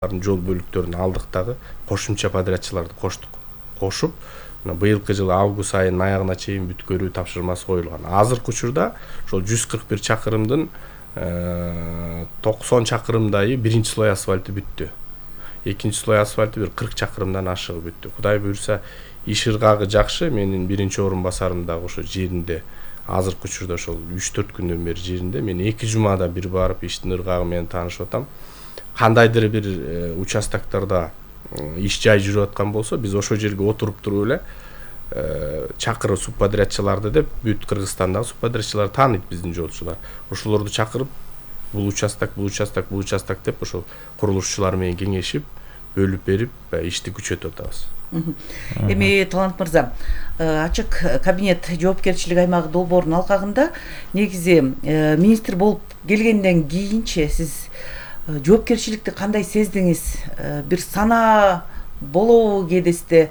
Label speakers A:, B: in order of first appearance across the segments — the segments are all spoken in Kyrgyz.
A: жол бөлүктөрүн алдык дагы кошумча подрядчыларды коштук. Кошуп, быйылкы жылы август айынын аягына чейин бүткөрүү тапшырмасы коюлган. Азыркы учурда ошол 141 чакырымдын 90 чакырымдайы биринчи слой асфальты бүттү. Экинчи слой асфальты бир 40 чакырымдан ашыгы бүттү. Кудай буюрса, иш ыргагы жакшы. Менин биринчи орун басарым дагы ошо жеринде. Азыркы учурда ошол 3-4 күндөн бери жеринде. Мен 2 жумада бир барып иштин ыргагы менен таанышып атам. Кандайдыр бир участоктарда иш жай жүрүп аткан болсо, биз ошол жерге отуруп туруп эле чакырып субподрядчыларды деп, бүт Кыргызстандагы субподрядчылар тааныйт биздин жолчулар. Ошолорду чакырып, бул участок деп ошол курулушчулар менен кеңешип, бөлүп берип, ишти күчөтүп атабыз.
B: Эми Талант мырза, ачык кабинет жоопкерчилик аймагы долбоорунун алкагында негизи министр болуп келгенден кийинче сиз жоопкерчиликти кандай сездиңиз? Бир санаа болобу кээдесте?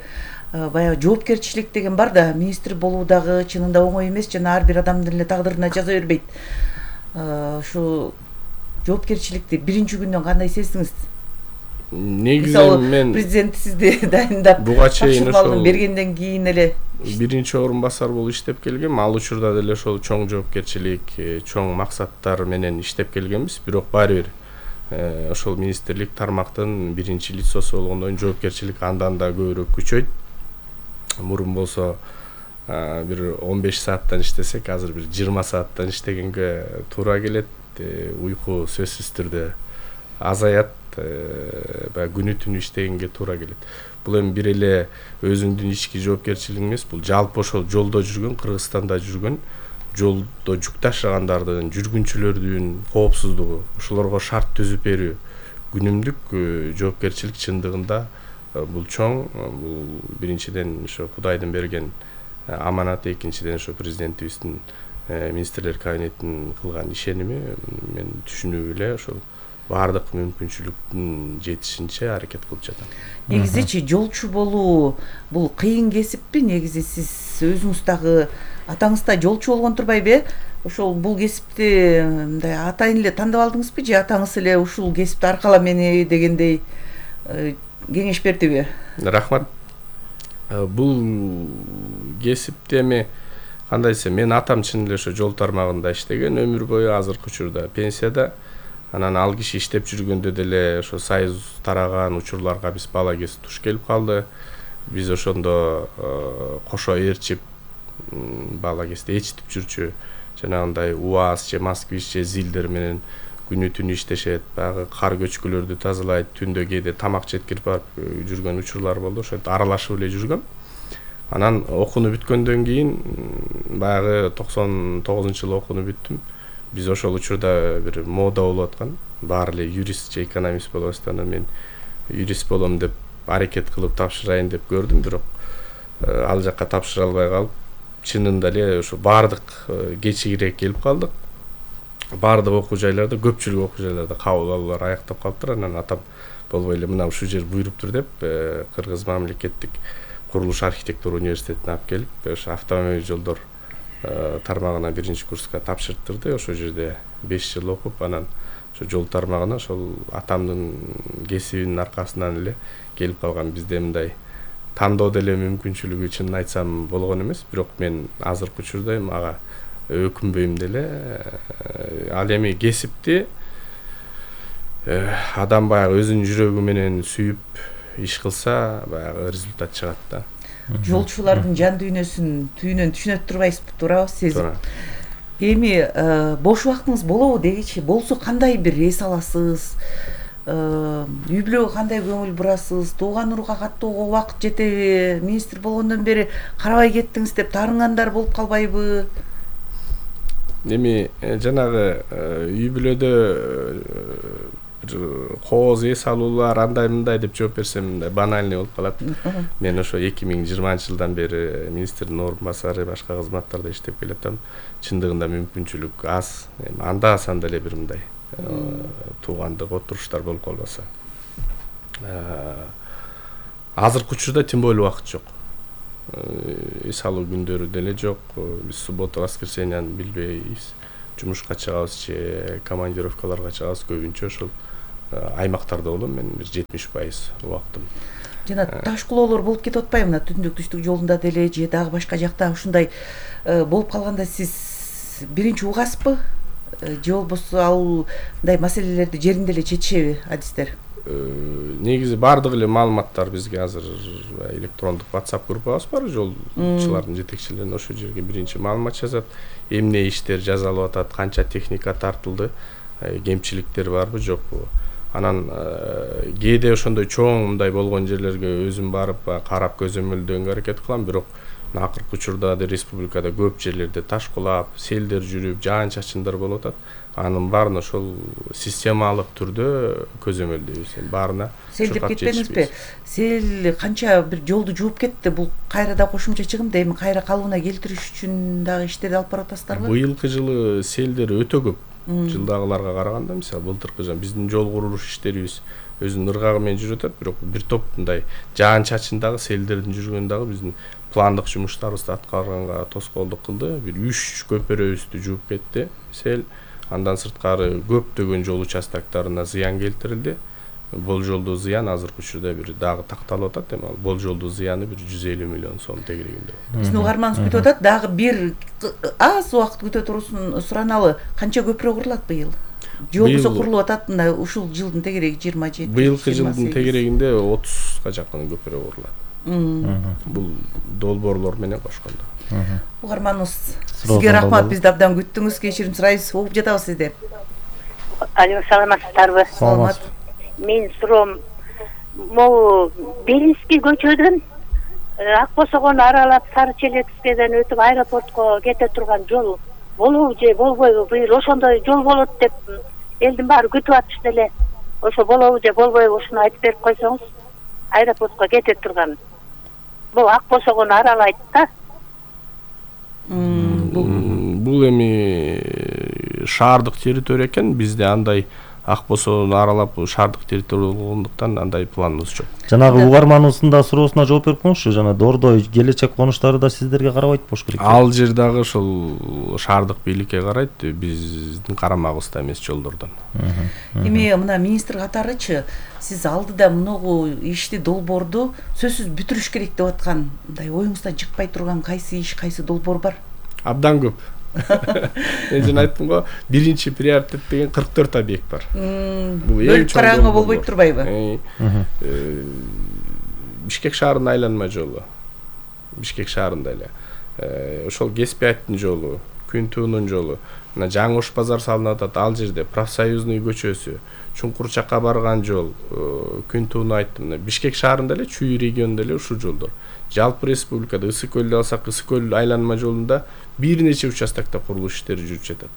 B: Баягы жоопкерчилик деген бар да, министр болуу дагы чынында оңой эмес, жана ар бир адамдын эле тагдырына жаза бербейт. Ушу жоопкерчиликти биринчи күндөн кандай сездиңиз?
A: Негизи мен
B: президент сизди дайындап,
A: буга чейин ошол
B: бергенден кийин эле
A: биринчи орун басар болуп иштеп келгем. Ал учурда деле ошол чоң жоопкерчилик, чоң максаттар менен иштеп келгенбиз. Бирок баары бир ошол министрлик тармактын биринчи лицосу болгондон жоопкерчилик андан да көбүрөөк күчөйт. Мурун болсо бир 15 сааттан иштесек, азыр бир 20 сааттан иштегенге туура келет. Уйку сөзсүз түрдө азаят, күнү түнү иштегенге туура келет. Бул эми бир эле өзүңдүн ички жоопкерчилиги эмес, бул жалпы ошол жолдо жүргөн, Кыргызстанда жүргөн, жолдо жүк ташыгандардын, жүргүнчүлөрдүн коопсуздугу, ошолорго шарт түзүп берүү, күнүмдүк жоопкерчилик чындыгында бул чоң. Бул биринчиден ошо Кудайдын берген аманаты, экинчиден ошо президентибиздин министрлер кабинетинин кылган ишеними. Мен түшүнүп эле ошол баардык мүмкүнчүлүктүн жетишинче аракет кылып жатам.
B: Негизичи жолчу болуу бул кыйын кесиппи? Негизи сиз өзүңүз дагы атаңыз да жолчу болгон турбайбы? Ошол бул кесипти мындай атайын эле тандап алдыңызбы, же атаңыз эле ушул кесипти аркала мени дегендей кеңеш бердиби?
A: Рахмат. Бул кесипти эми кандай десем, мен атам чын эле ошо жол тармагында иштеген, өмүр бою, азыркы учурда пенсияда. Анан ал киши иштеп жүргөндө деле ошо союз тараган учурларга биз бала кез туш келип калды. Биз ошондо кошо ээрчип, бала кезде ээрчитип жүрчү, жанагындай УАЗ же Москвич же ЗИЛдер менен күнү түнү иштешет, баягы кар көчкүлөрдү тазалайт, түндө кээде тамак жеткирип барып жүргөн учурлар болду. Ошентип аралашып эле жүргөм. Анан окууну бүткөндөн кийин, баягы 99-жылы окууну бүттүм. Биз ошол учурда бир мода болуп аткан, баары эле юрист же экономист болуп атты. Мен юрист болом деп аракет кылып тапшырайын деп көрдүм, бирок ал жакка тапшыра албай калып, чынында эле ошо баардык кечигирээк келип калдык. Баардык окуу жайларда, көпчүлүк окуу жайларда кабыл алуулар аяктап калыптыр. Анан атам болбой эле мына ушул жер буйруптур деп, Кыргыз мамлекеттик курулуш архитектура университетине алып келип, ошо автомобиль жолдор тармагына биринчи курска тапшырттырды. Ошол жерде 5 жыл окуп, анан ошо жол тармагына ошол атамдын кесибинин аркасынан эле келип калган. Бизде мындай тандоо деле мүмкүнчүлүгү чынын айтсам болгон эмес, бирок мен азыркы учурда ага өкүнбөйм деле. Ал эми кесипти адам баягы өзүнүн жүрөгү менен сүйүп иш кылса, баягы результат чыгат да.
B: Жолчулардын жан дүйнөсүн түйүнөн түшүнөт турбайсызбы, туурабы сезип? Эми бош убактыңыз болобу дегичи? Болсо кандай бир эс аласыз? Үй бүлөгө кандай көңүл бурасыз? Тууган урууга каттоого убакыт жетеби? Министр болгондон бери карабай кеттиңиз деп таарынгандар болуп калбайбы?
A: Эми жанагы үй бүлөдө кооз эс алуулар андай мындай деп жооп берсем банальный болуп калат. Мен ошо 2020-жылдан бери министрдин орун басары, башка кызматтарда иштеп келатам. Чындыгында мүмкүнчүлүк аз. Анда санда эле бир мындай туугандык отуруштар болуп калбаса. Азыркы учурда тем более убакыт жок. Эс алуу күндөрү деле жок. Биз суббота, воскресеньяны билбейбиз. Жумушка чыгабыз же командировкаларга чыгабыз, көбүнчө ошол аймактарда болом мен бир 70% убактым.
B: Жана таш кулоолор болуп кетип атпайбы мына түндүк түштүк жолунда деле же дагы башка жакта ушундай болуп калганда сиз биринчи угасызбы же болбосо ал мындай маселелерди жеринде эле чечишеби адистер?
A: Негизи баардык эле маалыматтар бизге азыр электрондук WhatsApp группабыз бар, жолчулардын жетекчилерин ошол жерге биринчи маалымат жазат, эмне иштер жасалып атат, канча техника тартылды, кемчиликтер барбы жокпу. Анан кээде ошондой чоң мындай болгон жерлерге өзүм барып карап көзөмөлдөөгө аракет кылам, бирок акыркы учурда республикада көп жерлерде таш кулап, селдер жүрүп, жаан чачындар болуп атат. Анын баарын ошол системалык түрдө көзөмөлдөйбүз. Баарына
B: сел деп кетпеңизби? Сел канча бир жолду жууп кетти. Бул кайра да кошумча чыгымды эми кайра калыбына келтириш үчүн дагы иштерди алып барып атасыздарбы?
A: Быйылкы жылы селдер өтө көп. Жылдагыларга караганда, мисалы былтыркы жыл биздин жол курулуш иштерибиз өзүнүн ыргагы менен жүрүп атат, бирок бир топ мындай жаан чачындагы селдердин жүргөнү дагы биздин пландык жумуштарыбызды аткарганга тоскоолдук кылды. Бир 3 көпөрөбүздү жууп кетти сел. Андан сырткары көптөгөн жол участоктарына зыян келтирилди. Болжолдуу зыян азыркы учурда бир дагы такталып атат. Эми болжолдуу зыяны бир 150 миллион сом тегерегинде.
B: Биздин угарманыбыз күтүп атат, дагы бир аз убакыт күтө турусун сураналы. Канча көпүрө курулат быйыл? Же болбосо курулуп атат мына ушул жылдын тегереги 27.
A: Быйылкы жылдын тегерегинде 30га жакын көпүрө курулат. Бул долбоорлор менен кошкондо.
B: Угарманыбыз сизге рахмат, бизди абдан күттүңүз, кечирим сурайбыз, угуп жатабыз сизди.
C: Алло, саламатсыздарбы?
B: Саламат.
C: Мен суроом, могу Белинский көчөдөн Ак Босогону аралап Сары Челекскеден өтүп аэропортко кете турган жол болобу же болбойбу? Быйыл ошондой жол болот деп элдин баары күтүп атышты эле. Ошо болобу же болбойбу ушуну айтып берип койсоңуз. Аэропортко кете турган. Бул Ак Босогону аралайт да.
A: Бул эми шаардык территория экен, бизде андай Ак Босогону аралап шаардык территория болгондуктан андай планыбыз жок.
D: Жанагы угарманыбыздын да суроосуна жооп берип коңузчу, жана Дордой келечек конуштары да сиздерге карабайт болуш керек.
A: Ал жер дагы ошол шаардык бийликке карайт, биздин карамагыбызда эмес жолдордон.
B: Эми мына министр катарычы сиз алдыда многу ишти долбоорду сөзсүз бүтүрүш керек деп аткан, мындай оюңуздан чыкпай турган кайсы иш, кайсы долбоор бар?
A: Абдан көп. Мен жана айттым го, биринчи приоритет деген 44 объект бар. Бул эң чоң
B: караңгы болбой турбайбы?
A: Бишкек шаарынын айланма жолу. Бишкек шаарында эле. Ошол Кеспиевдин жолу, Күнтуунун жолу. Мына жаңы Ош базар салынып атат, ал жерде профсоюзный көчөсү, Чуңкур чакка барган жол, Күнтууну айттым. Бишкек шаарында эле, Чүй регионунда эле ушул жолдор. Жалпы республикада Ысык көлдү алсак, Ысык көл айланма жолунда бир нече участокто курулуш иштери жүрүп жатат.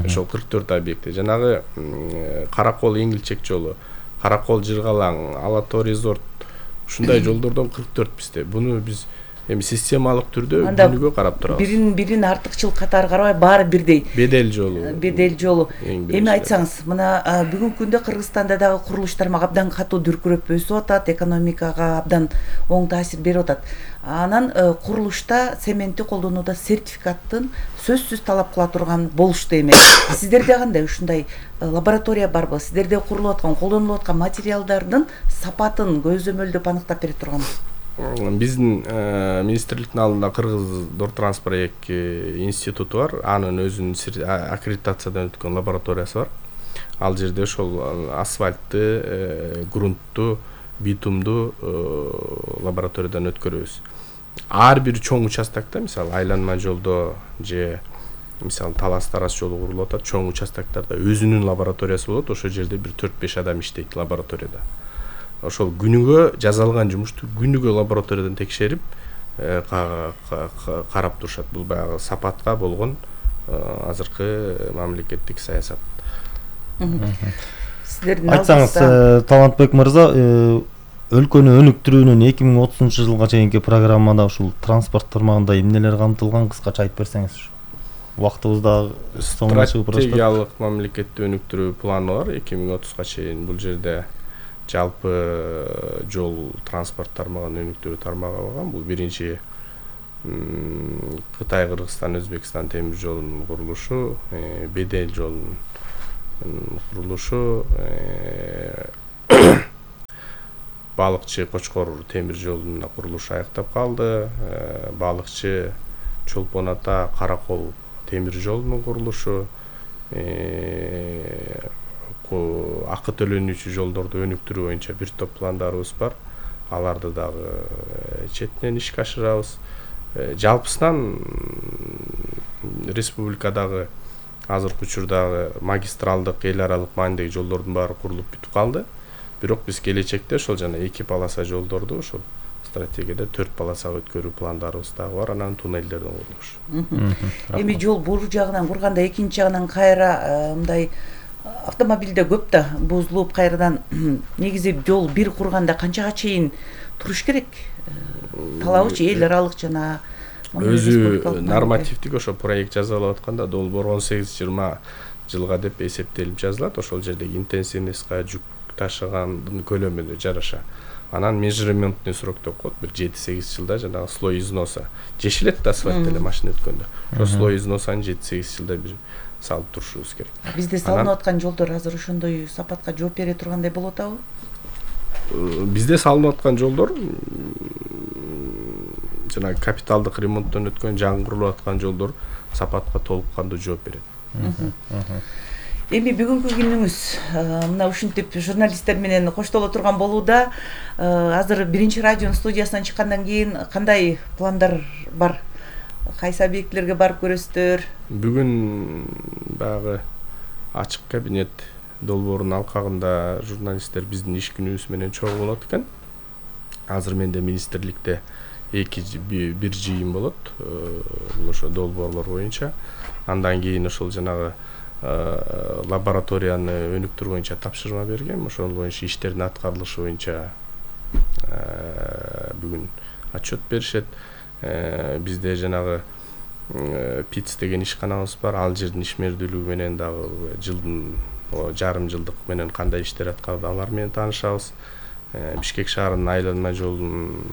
A: Ошол 44 объекти. Жанагы Каракол Эңилчек жолу, Каракол Жыргалаң, Алатоо резорт, ушундай жолдордон 44 бизде. Буну биз эми системалык түрдө күнүгө карап турабыз.
B: Бирин артыкчылык катары карабай, баары бирдей.
A: Бедел жолу.
B: Эми айтсаңыз, мына бүгүнкү күндө Кыргызстанда дагы курулуш тармагы абдан катуу дүркүрөп өсүп атат, экономикага абдан оң таасир берип атат. Анан курулушта цементти колдонууда сертификаттын сөзсүз талап кыла турган болушту эми. Сиздерде кандай ушундай лаборатория барбы? Сиздерде курулуп аткан, колдонулуп аткан материалдардын сапатын көзөмөлдөп аныктап бере турган?
A: Биздин министрликтин алдында Кыргыз Дортранспорт институту бар. Анын өзүнүн аккредитациядан өткөн лабораториясы бар. Ал жерде ошол асфальтты, грунтту, битумду лабораториядан өткөрөбүз. Ар бир чоң участокто, мисалы айланма жолдо же мисалы Талас-Тарас жолу курулуп атат, чоң участоктарда өзүнүн лабораториясы болот. Ошол жерде бир 4-5 адам иштейт лабораторияда. Ошол күнүгө жасалган жумушту күнүгө лабораториядан текшерип карап турушат. Бул баягы сапатка болгон азыркы мамлекеттик саясат.
B: Сиздердин
D: айтсаңыз, Талантбек мырза, өлкөнү өнүктүрүүнүн 2030 жылга чейинки программада ушул транспорт тармагында эмнелер камтылган, кыскача айтып берсеңиз. Убактыбыз да соңуна чыгып барат.
A: Стратегиялык мамлекетти өнүктүрүү планы бар 2030га чейин. Бул жерде жалпы жол транспорт тармагын өнүктүрүү тармагы алган. Бул биринчи Кытай, Кыргызстан, Өзбекстан темир жолунун курулушу, Бедел жолунун курулушу, балыкчы Кочкор темир жолунун курулушу аяктап калды. Балыкчы Чолпон Ата Каракол темир жолунун курулушу, акы төлөнүүчү жолдорду өнүктүрүү боюнча бир топ пландарыбыз бар. Аларды дагы четинен ишке ашырабыз. Жалпысынан республикадагы азыркы учурдагы магистралдык эл аралык маанидеги жолдордун баары курулуп бүтүп калды. Бирок биз келечекте ошол жана 2 полоса жолдорду ошол стратегияда 4 полосага өткөрүү пландарыбыз дагы бар, анан туннелдердин курулушу.
B: Эми жол бул жагынан курганда экинчи жагынан кайра мындай автомобилде көп да бузулуп кайрадан негизи жол бир курганда канчага чейин туруш керек? Талабычы эл аралык жана
A: өзү нормативдик ошо проект жазалап атканда долбоор 18-20 жылга деп эсептелип жазылат. Ошол жердеги интенсивностька, жүк ташыгандын көлөмүнө жараша. Анан межрементный срок деп коет, бир 7-8 жылда жанагы слой износа жешилет да асфальт эле машина өткөндө. Ошо слой износаны 7-8 жылда бир салып турушубуз керек.
B: Бизде салынып аткан жолдор азыр ошондой сапатка жооп бере тургандай болуп атабы?
A: Бизде салынып аткан жолдор жана капиталдык ремонттон өткөн, жаңы курулуп аткан жолдор сапатка толук кандуу жооп берет.
B: Эми бүгүнкү күнүңүз мына ушинтип журналисттер менен коштоло турган болууда. Азыр биринчи радионун студиясынан чыккандан кийин кандай пландар бар? Кайсы объектилерге барып көрөсүздөр?
A: Бүгүн баягы ачык кабинет долбоорунун алкагында журналисттер биздин иш күнүбүз менен чогуу болот экен. Азыр менде министрликте бир жыйын болот, бул ошо долбоорлор боюнча. Андан кийин ошол жанагы лабораторияны өнүктүрүү боюнча тапшырма бергем. Ошол боюнча иштердин аткарылышы боюнча бүгүн отчет беришет. Бизде жанагы ПИЦ деген ишканабыз бар. Ал жердин ишмердүүлүгү менен дагы жылдын жарым жылдык менен кандай иштер аткарды алар менен таанышабыз. Бишкек шаарынын айланма жолунун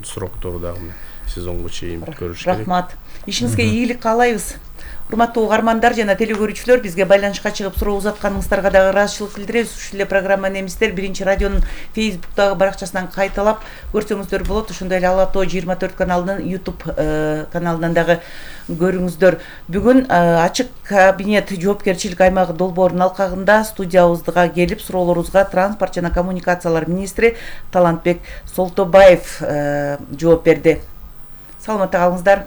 A: сроктору дагы сезонго чейин көрүш керек.
B: Рахмат. Ишиңизге ийгилик каалайбыз. Урматтуу угармандар жана телекөрүүчүлөр, бизге байланышка чыгып суроо узатканыңыздарга дагы ыраазычылык билдиребиз. Ушул эле программа немистер биринчи радионун Facebook'тагы баракчасынан кайталап көрсөңүздөр болот. Ошондой эле Ала Тоо 24 каналынын YouTube каналынан дагы көрүңүздөр. Бүгүн ачык кабинет жоопкерчилик аймагы долбоорунун алкагында студиябызга келип суроолорубузга транспорт жана коммуникациялар министри Талантбек Солтобаев жооп берди. Саламатта калыңыздар.